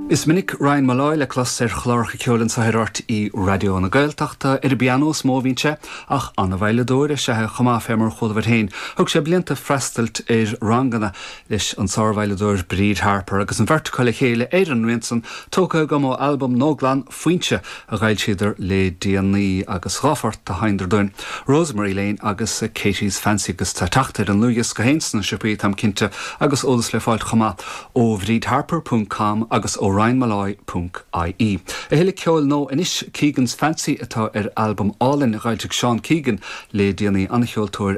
Is minic Ryan Molloy le clos ar chláracha ceoil anseo ar RTÉ Raidió na Gaeltachta. Ar an bpianó is mó a bhíonn sé, ach an-veidhleadóir is ea é chomh maith, fé mar a chualabhair féin. Thug sé blianta ag freastailt ar ranganna leis an sár-veidhleadóir Bríd Harper, agus an bheirt acu le chéile ar an rian san, tógtha agam ó albam Nóglann, Foinse, a dh'fhoilsíodar le déanaí, agus dha phort a sheinneadar dúinn, Rosemary Lane agus Katie's Fancy, agus tá teacht ar an ndlúthdhiosca féin sna siopaí, táim cinnte, agus eolas le fáilt chomh maith. ó bhrídharper ponc com agus ó ryanmolloy ponc ie. A thuilleadh ceoil nó anois, Keegan's Fancy atá ar albam álainn a dh'fhoilsigh Seán Keegan le déanaí, an-cheoltóir.